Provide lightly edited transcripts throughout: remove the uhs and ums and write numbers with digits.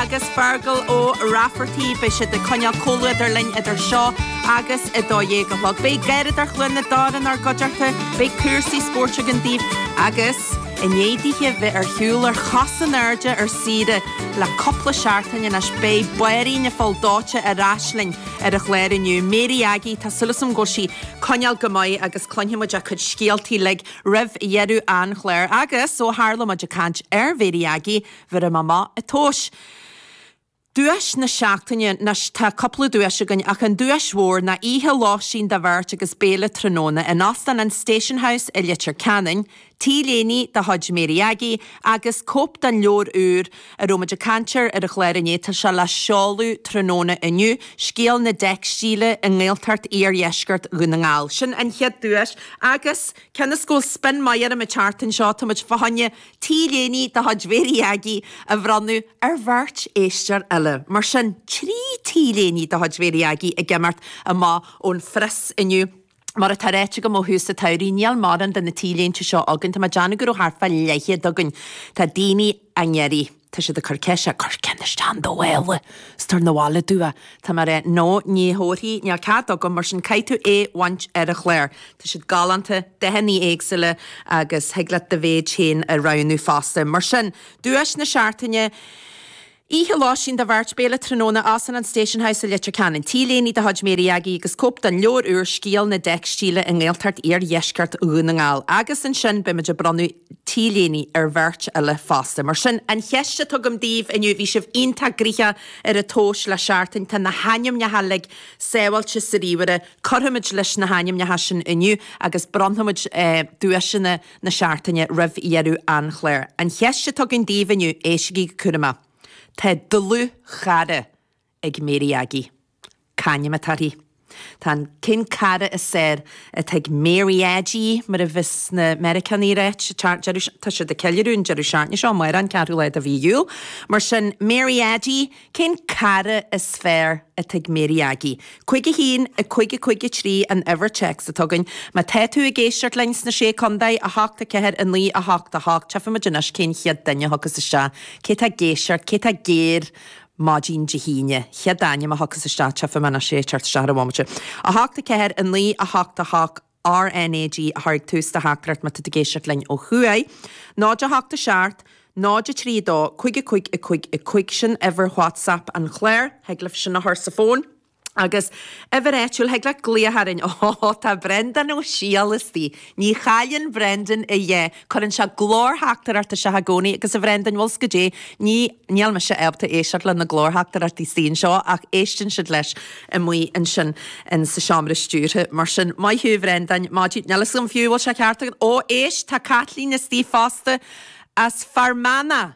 agus Feargal Ó Raifeartaigh. Beidh siad ag coinneáil comhluadar linn idir seo agus 12 a chlog. Beidh Garradóir Chluain na dTor inár gcuideachta, beidh cúrsaí spóirt againn daoibh agus i ndiaidh dithe bheith ar shiúl ar chos in airde ar saoire le cúpla seachtain anois, beidh Báirín an Phoill Dóite ar ais linn ar an chlár inniu. Mary Aggie, tá súil agam go bhfuil sí coinneáil go maith agus cluinfidh muid a cuid scéaltaí uilig roimh dheireadh an chláir. Agus ó tharla muid ag caint ar Mhary Aggie, bhéarfaidh mé amach an tomhas. Duais na seachtaine, anois tá cúpla duais againn ach an duais mhór ná oíche lóistín do bheirt agus béile tráthnóna in Óstán an Station House i Leitir Ceanainn, T-léine de chuid Mary Aggie agus cóip den leabhar úr a raibh muid ag caint air ar an chlár inné, tá sé le seoladh tráthnóna inniu, Scéal na dTeicstíle i nGaeltacht Iardheisceart Dhún na nGall. Sin an chéad duais agus cionn is go bhfuil spin maith orm an tseachtain seo, tá muid fá choinne T-léine de chuid Mhary Aggie a bhronnadh ar bheirt éisteoir eile. Mar sin, 3 T-léine de chuid Mhary Aggie ag imeacht amach ón phreas inniu. Mar atá ráite agam ó thús an tsamhraidh, níl mórán de na T-léinte seo againn. Tá mé ag déanamh go raibh thart fá leathchéad againn. Tá daoine á n-iarraidh. Tá siad ag cur ceiste, cuir ceann isteach in do mhála is tabhair 'na bhaile domh é. Tá mé ag rá, no, ní thabharfaidh, níl cead agam, mar sin caithfidh tú é bhaint ar an chlár. Tá siad galánta, dathanna éagsúla agus thig leat do mhéid féin a roghnú fosta. Mar sin, duais na seachtaine, Oíche lóistín do bheirt, béile tráthnóna, Óstán an Station House i Leitir Ceanainn. T-léine de chuid Mary Aggie agus cóip den leabhar úr Scéal na dTeicstíle i nGaeltacht Iardheisceart Dhún na nGall. Agus ansin beidh muid ag bronnadh T-léine ar bheirt eile fosta. Mar sin, an cheist atá agam daoibh inniu, bhí sibh iontach gnoitheach ar an tomhas le seachtain, tá na hainmneacha uilig sábháilte sa ríomhaire, cuirfimid leis na hainmneacha sin inniu agus bronnfaimid duaiseanna na seachtaine roimh dheireadh an chláir. An cheist atá againn daoibh inniu, éistigí go cúramach. Tá dlúthchara ag Mary Aggie. C'ainm atá uirthi? Tá an, cén cara is fearr atá ag Mary Aggie, mar a bhios na Meiriceánaigh ag ráit, deireadh, tá siad ag ceiliúradh an deireadh seachtaine seo, amárach an ceathrú lá de mhí Iúil. Mar sin, Mary Aggie, Cén cara is fearr atá ag Mary Aggie? 5 1 5 5 3 an uimhir téacs atá againn. Má tá tú ag éisteacht linn sna Sé Contae, 8 4 9 8 8, Tchífimid anois cén chéad duine a thiocfas isteach. Cé tá ag éisteacht? Cé tá géar maidin Dé hAoine? Chéad ainm a thiocfas isteach, tchífidh mé anois é ag teacht isteach ar an bhomaite. 8 4 9 8 8. RnaG a chur ag tús do theachtaireacht má tá tú ag éisteacht linn ó thuaidh. 0 8 7 0 3 2 5 5 5 5 Sin uimhir WhatsApp an chláir. Thig libh sin a chur sa bhfón. Agus uimhir áitiúil, thig leat glaoch orainn. Ó, tá Brendan Ó Siadhail istigh. Ní chailleann Brendan a dhath. Cuireann sé glórtheachtaireacht isteach i gcónaí agus a Bhrendan, bhfuil 's goidé, ní, níl mise ábalta éisteacht le na glórtheachtaireachtaí istigh anseo ach éisteann siad leis amuigh ansin in sa seomra stiúrtha. Mar sin, maith thú a Bhrendáin, maidin, níl 'fhios agam fiú bhfuil sé ceart agat. Ó, éist, tá Caitlín istigh fosta as Fear Manach!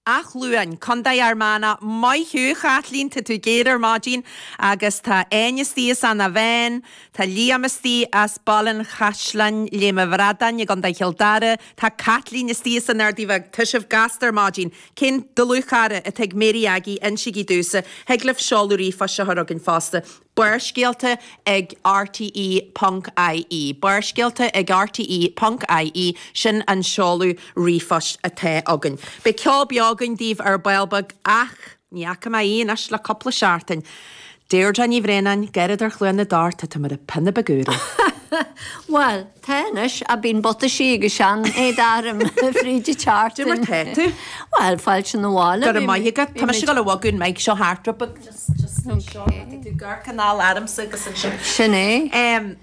Áth Luain, Contae Fhear Manach, Maith thú, a Chaitlín, tá tú géar ar maidin agus tá Áine istigh as Eanach Mheáin, tá Liam istigh as Baile an Chaisleáin, Léim an Bhradáin i gContae Chill Dara, tá Caitlín istigh as an Ardaidh Bheag, tá sibh gasta ar maidin. Cén dlúthchara atá ag Mary Aggie, insígí domhsa, thig libh seoladh ríomhphoist a chur chugainn fosta. Barrscéalta ag rte ponc ie Barrscéalta ag rte ponc ie Sin an seoladh ríomhphoist atá againn. Beidh ceol beo againn daoibh ar ball beag ach ní fhaca mé í anois le cúpla seachtain. Deirdre Ní Bhraonáin, Garradóir Chluain na dTor, tá tú mar an pionna beag úr. Bhuel, tá anois, ach bíonn butaisí agus sean-éadach orm fríd an tseachtain. Cad é mar tá tú? Bhuel, fáilte 'na bhaile. Go raibh maith agat. Tá mise ag dul a bhogadh an mic seo thart rud beag just just anseo. Tá tú ag amharc anall ormsa agus ansin. Sin é.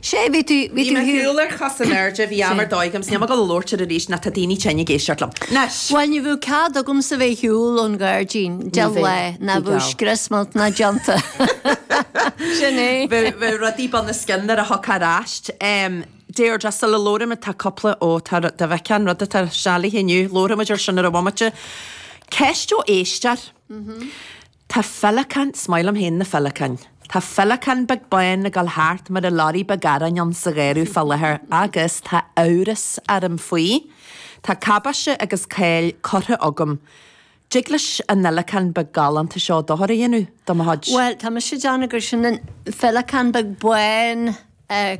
Sé, bhí tú, bhí tú. Bhí mé ar shiúl ar chos in airde, bhí am ar dóigh agam, 's níl mé ag dul a labhairt air arís ná tá daoine tinn ag éisteacht liom. Anois! Bhuel, ní bheadh cead agamsa bheith ar shiúl ón ghairdín de lá, ná bheadh scrios millteanach déanta. Sin é. Bheadh rudaí bun os cionn nuair a thiocfá ar ais. Deirdre, sula labhraímid, tá cúpla, ó, tá, dá bhfeicfeá an rud atá sealaithe inniu, labhróimid air sin ar an bhomaite. Ceist ó éisteoir. Tá féileacán, is maith liom féin na féileacáin. Tá féileacán beag bán ag dul thart mar an lorry beag aráin ann sa gharradh fá láthair agus tá amhras orm faoi. Tá cabáiste agus cáil curtha agam. Dtig leis an fhéileacán beag galánta seo dochar a dhéanamh do mo chuid. Bhuel, tá mise ag déanamh gur sin an féileacán beag bán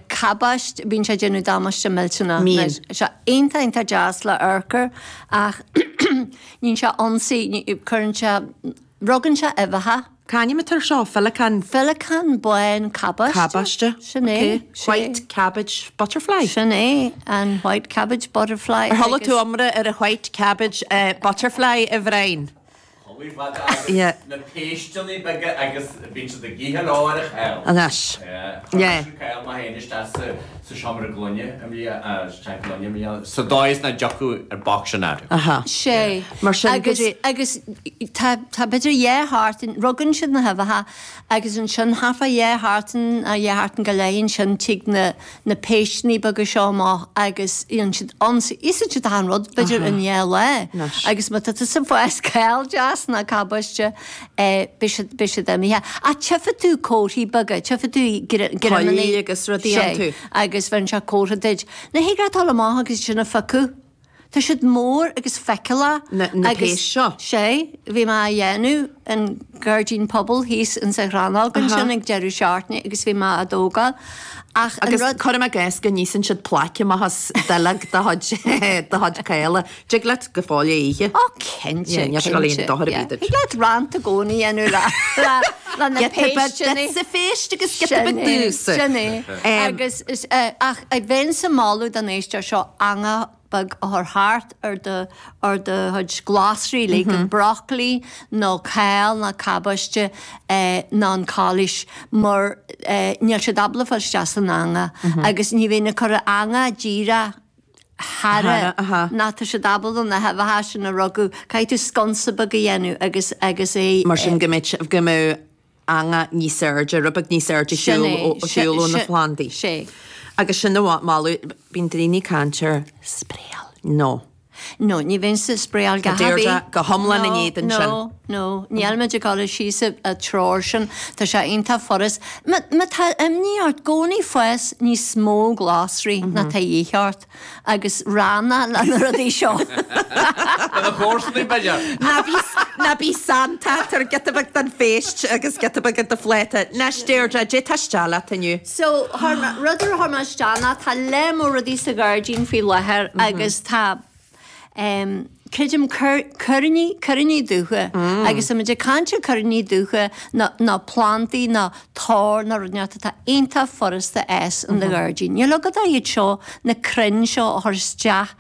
cabáiste, bíonn sé ag déanamh damáiste millteanach. Mbíonn. Tá sé iontach, iontach deas le amharc air ach. Níonn sé ionsaí, cuireann sé, rugann sé uibheacha. C'ainm atá ar seo? Féileacán? Féileacán bán cabáiste. Cabáiste. Sin é. Ok. White cabbage butterfly. Sin é, an white cabbage butterfly. Ar chuala tú iomrá ar an white cabbage butterfly, a Bhriain? Chuala fada yeah. Na péisteanna beaga agus bíonn siad ag ithe leo ar an cháil. Anois. Yeah. Yeah. Chuir mise cáil mé féin isteach sa sa seomra gloine i mbliana, isteach gloine i mbliana, sa dóigh is nach dtiocfadh an boc sin orthu. Aha. Sé. Mar sin, Agus, go dtí. agus tá, tá b'fhéidir dhá sheachtain, rugann siad na huibheacha agus ansin thart fá dhá sheachtain, dhá sheachtain go leith ansin tig na, na péisteanna beaga seo amach agus dhéanann siad ionsaí, íosann siad achan rud, b'fhéidir in dhá lá. Agus má tá tusa ag fás cál deas ná cabáiste, beidh siad, beidh siad imithe. Ach tchífidh tú comharthaí beaga, tchífidh tú greamanna. Poill agus rudaí iontu. Sé, agus bheireann sé comhartha duit. Now thig leat dul amach agus sin a phiocadh. Tá siad mór agus feiceálach. Na, na agus, péist seo. Sé, bhí mé á dhéanamh in gairdín pobail thíos in sa Chrannóg ansin ag deireadh seachtaine agus bhí mé á dtógáil. Ach an Agus rud. cuirim i gcás go n-íosann siad plaic amach as duilleog do chuid, do chuid caola. Dtig leat go fóill é a ithe. Ó cinnte, Yeah, níl sé ag dul a cinnte. dhéanamh dochar ar Yeah. bith duit. Thig leat rant i gcónaí a dhéanamh le, le, le na Giota beag péisteanna. duitse phéist agus giota Sin beag é, domhsa. sin é. Agus is, ach bheinnse ag moladh don éisteoir seo eangach beag a chur thart ar do, ar do chuid glasraí, like an broccoli nó cál nó cabáiste nó an calaois mar níl siad ábalta fáil isteach san eangach agus ní bheinn ag cur an eangach díreach thar ná tá siad ábalta na huibheacha sin a rugadh, caithfidh tú sconsa beag a dhéanamh agus, agus é. Mar sin go mbeidh, go mbeadh eangach níos airde, rud beag níos airde ar shiúl ó na plandaí. Sé. Agus sin a mholadh, bíonn daoine ag caint ar Spraeáil. No. No, ní bheinnse ag spraeáil go Tá Deirdre go hiomlán in éadan sin. No, no, níl muid ag dul síos an treoir sin, tá sé iontach furast. Má má tá imní ort, i gcónaí fás níos mó glasraí ná tá a dhíth ort. agus rannach le na rudaí seo. Do na comharsanaí, b'fhéidir. Ná bí, ná bí santa, tabhair giota beag don phéist agus giota beag do phláta. Anois, Deirdre, dé tá isteach leat inniu? So, chuir mé, rud ar chuir mé isteach ná tá lear mór rudaí sa ghairdín faoi láthair agus tá, em, creidim cuiríní, cuiríní dubha agus tá muid ag caint ar cuiríní dubha nó, nó plandaí nó tor nó rud inteacht atá iontach furasta a fhás in do ghairdín. Níl agat ach iad seo, na crainn seo a chur isteach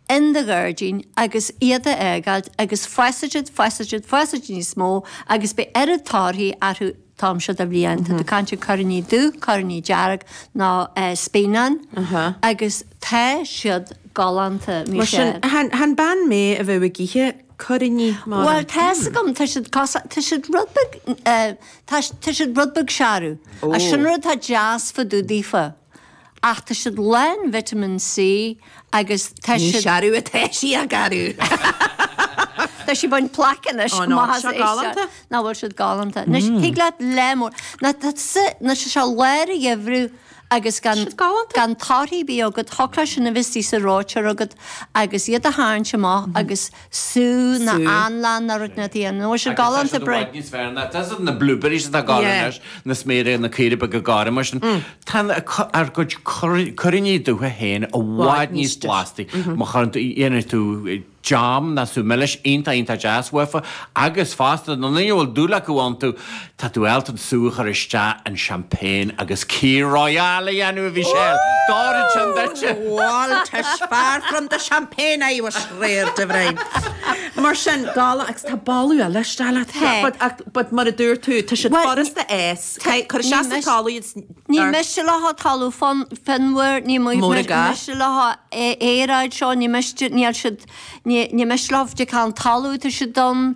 in do ghairdín agus iad a fhágáilt agus fásfaidh siad, fásfaidh siad, fásfaidh siad níos mó agus beidh oiread torthaí orthu an t-am seo de bhliain. Tá tú ag caint ar cuiríní dubh, cuiríní dearg nó spíonán agus tá siad galánta, Mar sin, Michelle. chan bean mé a bheadh ag ithe cuiríní mar. Bhuel, tá's agam, tá siad cosa, tá siad rud beag, tá, tá siad rud beag searbh. Ó. Sin rud atá deas fá dtaobh daofa. Ach tá siad lán vitamin C agus tá Ní siad. searbh atá sí a garbh. Tá sí ag baint plaic anois. Ó, no, Maith seo as é seo. galánta. Nach bhfuil siad galánta. Anois, thig leat lear mór. Ná tá sa, ná sé seo lár an gheimhridh agus gan, Siad galánta. gan torthaí ar bith agat, thiocfadh leat sin a bheith istigh sa reoiteoir agat agus iad a tharraingt amach agus sú ná Sú. anlann ná rud inteacht a dhéanamh. Nach bhfuil siad Agus tá galánta siad i Brian? bhfad níos fearr ná, tá siad na blueberries atá ag gabháil Yeah. anois, na sméara, na caora beaga gorma sin. Tá ár gcuid cuiríní dubha féin i bhfad níos blastaí. Má chuireann tú, dhéanann tú jam ná sú milis iontach iontach deas uafa agus fosta na ndaoine a bhfuil dúil acu iontu, tá tú ábalta an sú a chur isteach in champagne agus Kir Royale a dhéanamh a Mhichelle! D'oirfeadh sin duitse! Bhal, 'tis far from the champagne I was reared, a Bhriain. Mar sin, galánta, agus tá boladh eile isteach leat. Tá. But, ach, but mar a dúirt tú, tá siad Bhuel, furasta a fhás. Cuir isteach sa talamh iad Ní miste leo talamh fionmhar, ní Mór ag gá. miste leo aeráid seo, ní miste, níl siad, ní miste leo de cén talamh atá siad ann.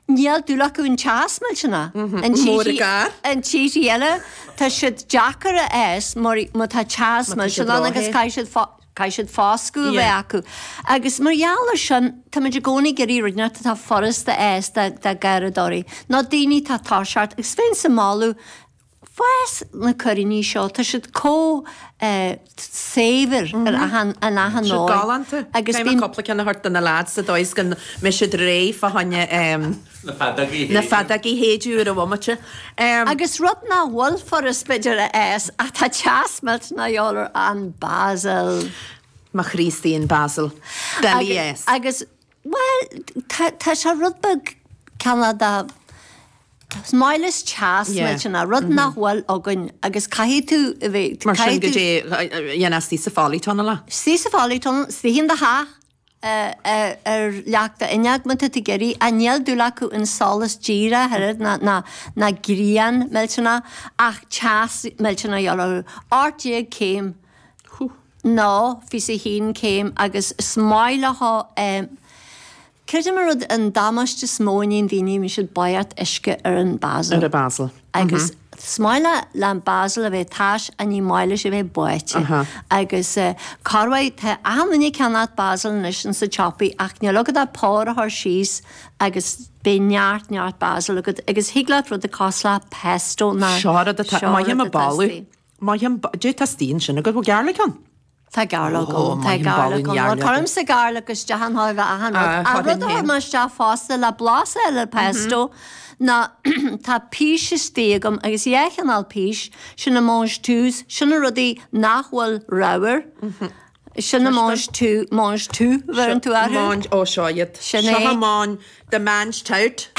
Níl dúil acu an teas millteanach. In Mór ag gá. In tíortha eile, tá siad deacair a fhás mar má tá teas Má tá siad millteanach ann agus róthe. caithfidh siad caithfidh siad foscadh a bheith Yeah. acu. Agus mar gheall ar sin, táimid i gcónaí ag iarraidh rud inteacht atá furasta a fhás do gharradóirí, nó daoine atá ag toiseacht agus bheinnse ag moladh fás na cuiríní seo, tá siad chomh saibhir ar achan, in achan Siad dóigh. galánta. Agus Caithfidh mé bíonn. cúpla ceann a thabhairt do na lads sa dóigh is go mbeidh siad réidh fá choinne Na feadógaí a na shéideadh. feadógaí a shéideadh ar an bhomaite. Agus rud nach bhfuil furast b'fhéidir a fhás ach tá teas millteanach de dhíobháil air, an basil. Mo Chríostaí an basil. Doiligh a fhás. Agus. Bhuel, tá, tá sé rud beag cineál de, is maith leis teas millteanach, rud nach bhfuil againn agus caithfidh tú a bheith, Mar sin caithfidh tú. goidé a dhéanfá istigh sa pholytunnel é? Istigh sa pholytunnel, istigh in do theach, ar leac d'fhuinneog má tá tú ag iarraidh, ach níl dúil acu in solas díreach oiread ná, ná, ná grian millteanach ach teas millteanach a gheall orthu. 18 céim. Nó 21 céim agus is maith leo creidim an rud an damáiste is mó a níonn daoine bíonn siad báitheacht uisce ar an basil. Ar an basil. Agus is maith le le an basil a bheith tais ach ní maith leis a bheith báite. Agus corruair tá achan duine ag ceannacht basil anois insa tsiopaí ach níl agat ach pár a chur síos agus beidh neart neart basil agat agus thig leat rud cosúil le pesto ná Seo rud atá seo maith rud am atá boladh. istigh. Maith an goidé tá istigh ansin agat, bhfuil garlic ann? Tá garlic ann, tá garlic ann. Bhuel, cuirimse garlic isteach in chóir a bheith achan rud. Ach rud a chuir mé isteach fosta le blas a fháil ar pesto ná tá pís istigh agam agus dhá chineál pís, sin na mange-touts, sin na rudaí nach bhfuil ramhar, sin na mange-tout, mange-tout a bheireann tú orthu. Mange, ó seo iad. Sin é. Seo mange, the mange tout.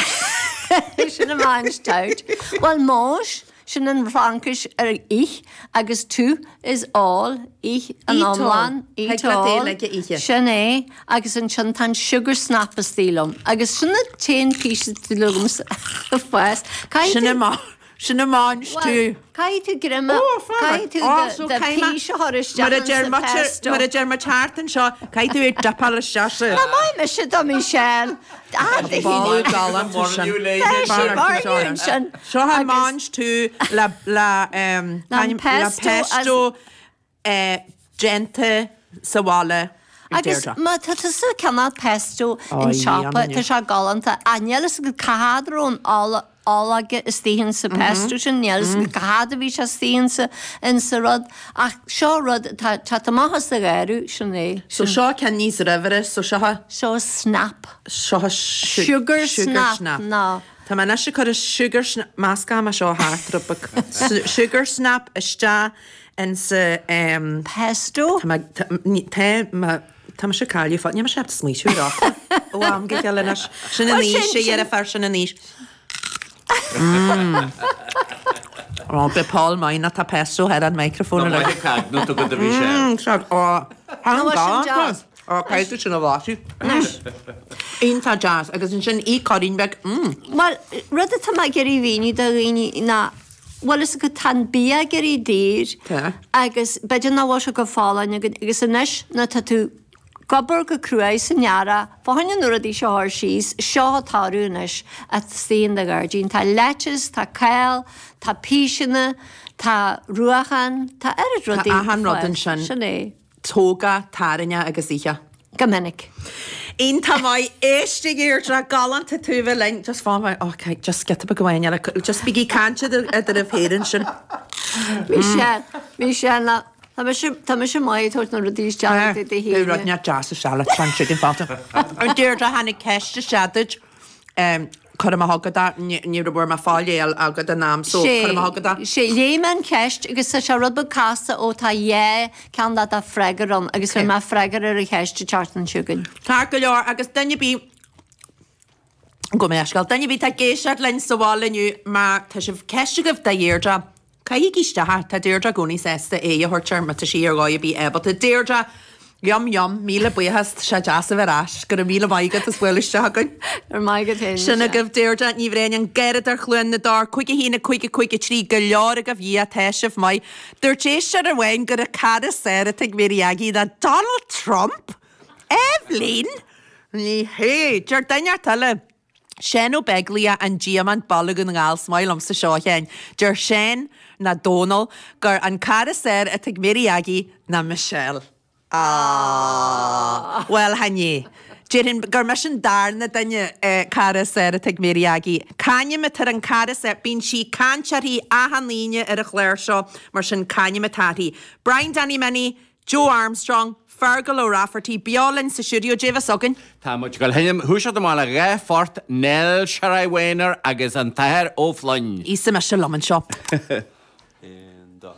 Sin an mange tout. Bhuel, mange, Sin an Fhraincis ar ith agus tout is all, ith an Eat all. iomlán, eat Thig leat é all. uilig a ithe. Sin é, agus ansin tá an sugar snap istigh liom. Agus sin an t-aon píosa istigh liomsa ag fás. Caithfidh Sin tú, an ma, sin an mange bhuel, tout. caithfidh tú greim a, Ó, fág. caithfidh tú Ó, do, so do caithfidh mé, pís a chur isteach mar a insa deir muid, pesto. mar a deir muid thart anseo, caithfidh tú é a dipeáil isteach sa. Tá maith mise do Michelle. Ah, do Boladh shíne. galánta sin. Tá sí mar ansin. Seo an mange tout le le An le pesto déanta sa bhaile ag Agus Deirdre. má tá tusa ag ceannach pesto Ó, in siopa, yum, tá sé galánta. Ach níl fhios agat cá fhad a raibh an ola ológa istigh insa pesto sin, níl fhios agat cá fhad a bhí sé istigh insa insa rud. Ach seo rud atá ag teacht amach as do gharradh, sin é. So seo ceann níos ramhaire, so seo. Seo snap. Seo Sugar snap, ná. Tá mé anois ag cur an sugar snap, meascfaidh mé seo thart rud beag. Sugar snap isteach insa em. Pesto? Tá mé, tá, ní, tá mé, tá mise ag cailleadh fo, níl mise ábalta smaoitiú ar fhocal ó am go chéile anois. Sin an Bhuel, aois, sin, a sin. dheirfiúr, sin an aois. Mm. Ó, beidh Paul maith ná tá pesto ar an microphone Tá anois. maith ag caint nó tú go do bhí sé. Mm, seo, ó, tá an Nó sin galánta. deas. Ó, caithfidh tú sin a bhlaiseadh. Iontach deas. Agus ansin í cuirín beag, mm. Bhuel, rud atá mé ag iarraidh a mhíniú do dhaoine ná, bhfuil fhios agat, tá an bia ag éirí daor Tá. agus b'fhéidir nach bhfuil sé chomh folláin againn agus anois nuair atá tú ag obair go cruaidh san earrach, fá choinne na rudaí seo a chur síos, seo atá orthu anois istigh in do ghairdín. Tá lettuce, tá cál, tá píseanna, tá ruachán, tá oiread rudaí. Tá achan rud ansin. Sin é. Tóg, tarraing agus ith. Go minic. Iontach maith. Éist a Dheirdre, galánta tú a bheith linn. Just fán mé, ok, just giota beag amháin eile. Just bígí ag caint eadraibh féin ansin. Michelle, Michelle, ná, tá mise, tá mise maith ag tabhairt na rudaí isteach i do Beidh thír. rud neart deas isteach le tran chicken fáilte. A Deirdre, tháinig ceist isteach duit. Cuirfidh mé chugat é, ní raibh mé fáil é agat in am so cuirfidh mé chugat é. Sé, léigh mé an cheist agus tá sé rud beag casta ó tá dhá cheann de do freagra ann agus bheidh mé freagra ar an cheist an tseachtain seo chugainn. Ceart go leor agus duine ar bith, gabh mo leithscéal, duine ar bith atá ag éisteacht linn sa bhaile inniu má tá sibh ceist agaibh do Dheirdre, Caithigí isteach, tá Deirdre i gcónaí sásta aghaidh a thabhairt air má tá sí ar dhóigh ar bith ábalta. Deirdre, Yum yum, míle buíochas, tá sé deas a bheith ar ais. Go raibh míle maith agat as bualadh isteach chugainn. Go raibh maith agat féin, Sin Michelle. agaibh Deirdre Ní Bhraonáin, an Garradóir Chluain na dTor, 5 1 5 5 3, go leor agaibh, Dhia, tá sibh maith. Dúirt éisteoir amháin gur an cara is fearr atá ag Mary Aggie ná Donald Trump! Eibhlín! Ní hea! Deir duine inteacht eile. Seán Ó Beaglaoich, An Diamant, Baile Dhún na nGall, Is maith liomsa seo, a Sheáin. Deir Seán, ná Dónal, gur an cara is fearr atá ag Mary Aggie ná Michelle. Aww. Bhuel, chan ea. Déarfainn gur mise an darna duine cara is fearr atá ag Mary Aggie. C'ainm atá ar an cara is fearr? Bíonn sí ag caint uirthi achan Aoine ar an chlár seo, mar sin c'ainm atá uirthi? Brian Danny Minnie, Joe Armstrong, Fergal O'Rafferty, beo linn sa stiúideo, Dé bheas againn. Tá muid ag dul a sheinm thoiseacht amach le dhá phort, Nell Sherry Wayner agus an tAthair Ó Floinn. Íosfaidh mise liom anseo. Aon dá.